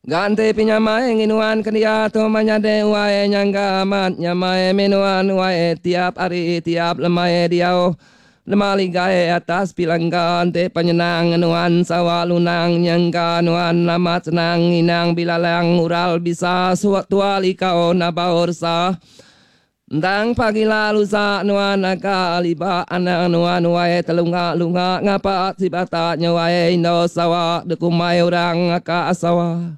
Ganti penyamai nginuan ke dia tu menyadi wai nyangka amat nyamai minuan wai tiap hari tiap lemai diau nema ligai atas pilangka enti penyenang nuan sawa lunang nyangka nuan amat senang nginang bilalang ural bisa tua likau nabau resa. Endang pagila lusa nuan aka liba anang nuan wai telunga lunga ngapa sibata nya wai indo sawa dekumbai orang aka sawa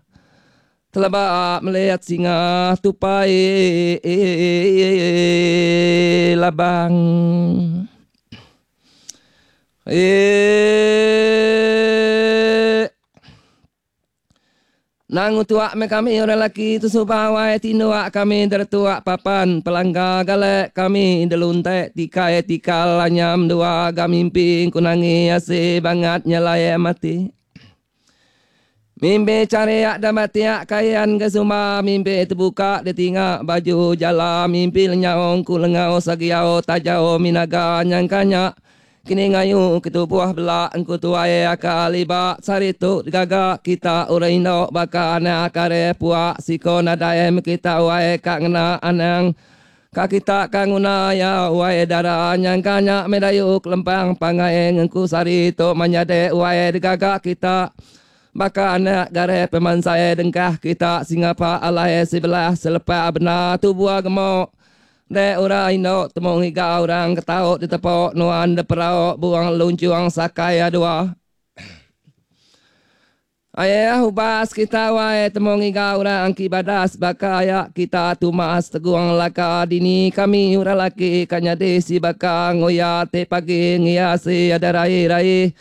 teleba meliat singa tupai labang. Eee. Nang tuak meh kami orang laki tu suba wai tinduk kami deretuak papan pelangga galek kami deluntek tikai tikal anyam dua ga mimpi ku nangi asi bangat nyelai mati. Mimpi cariak da batiak kayan ke sumba mimpi tebuka ditinga baju jala mimpi lenyau ku lengau sagiau tajau minaga nyangka nya Kini ngayu ke tubuh bela engku tuai aka liba sehari tu digaga kita orang indu baka anak kare puak siko nadai meh kita wai ka ngena anang ka kita ka nguna iya wai dara nyangka nya meh dayu kelempang pangai ngengku sehari tu menyadi wai digaga kita baka anak gare pemansai dengkah kita singapa alai sebelah selepa bena tubuh gemuk Dek orang indu temu ngiga orang ke tau ditepok nuan deperau buang lunchung sakai adua. Ayah ubas kita wai temu ngiga orang ki badas baka aya kita tumas tegung laka dini kami orang laki ka nyadi si baka nguya ti pagi ngia si ada rai rai.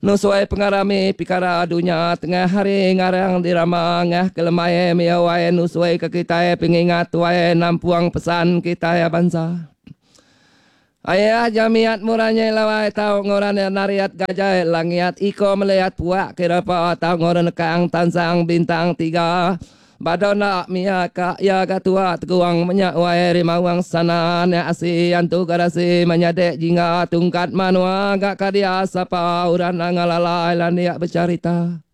Nusui pengarami pikara dunya tengah hari ngarang dirama ngah ke lemai mia wai nusui ke kitai pengingat tuai nampung pesan kitai bansa. Ayah jamiat muranyai lawai tau nguran nariat gajai langiat iko meliat puak kirapa tau nguran nekang tansang bintang tiga Bado enda mia ka iya ga tua teguang menya wai rimawang sana nya asi antu garasi menyadi jingga tungkat manua ga ka dia sapa orang nanga lalai landik becarita.